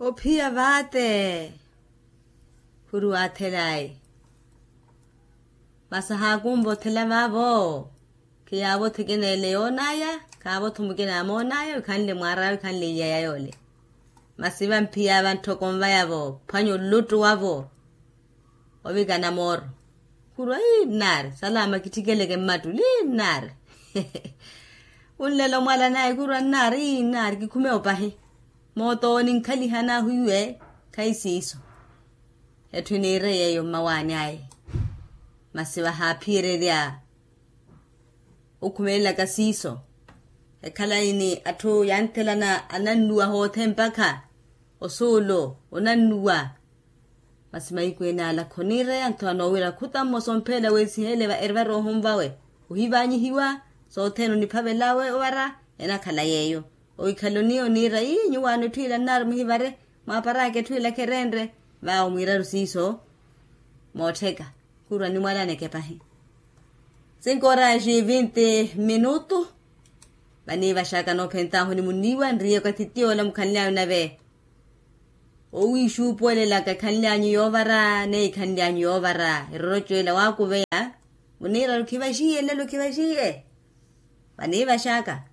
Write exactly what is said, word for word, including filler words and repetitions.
Ophiya vaate. Khuri waathelaye. Masi ahaakumva othela vaavo. Khiyaavo othekeneele yoonaya. Khaavo otho mukina amoonaya wikhanle mwaaraya wikhanle iyaya yoole. Masi vamphiya vantthoko nvayavo phwanya oluttu wavo. Ovikana mooro. Khurwa ii nnaari salama kitthikeleke mmattu lii nnaari. Khunlela omwala naye khurwa nnaari ii nnaari kikhume opahi. Mooto oninkhaliha nahu iwe. Khayi siiso. Etthu eniire yeeyo mmawaani aye. Masi vahaaphiyererya okhumelelaka siiso. Ekhalayi ni atthu yanthelana anannuwa hoothe mpakha osuulo onannuwa. Masi mahiku ene ala khoniireya ntho anoowira khuta mmosa ompheela weesiheele erivara ohunvawe ohivanyihiwa. Sothene oniphavelawe ovara enakhala yeeyo. Owikhale oniira ii nyuwaano etthu ila nnaari muhivare mwaaparaka etthu ila kherenre. Vaawo mwiiraru siiso. Moottheka khurwa nimwalana ekepahi. Sinkoraxi vinti minutu. Vaniivaxaka noophentahu ni muniiwa nriye okathi tiyoola mukhanly'anyu nave. Owiixuupuwelelaka ekhanly'anyu yoovara neyi ekhanly'anyu yoovara eroroco ela waakuveya. Muniiraru khivaxiye nlelo khivaxiye. Vaniivaxaka.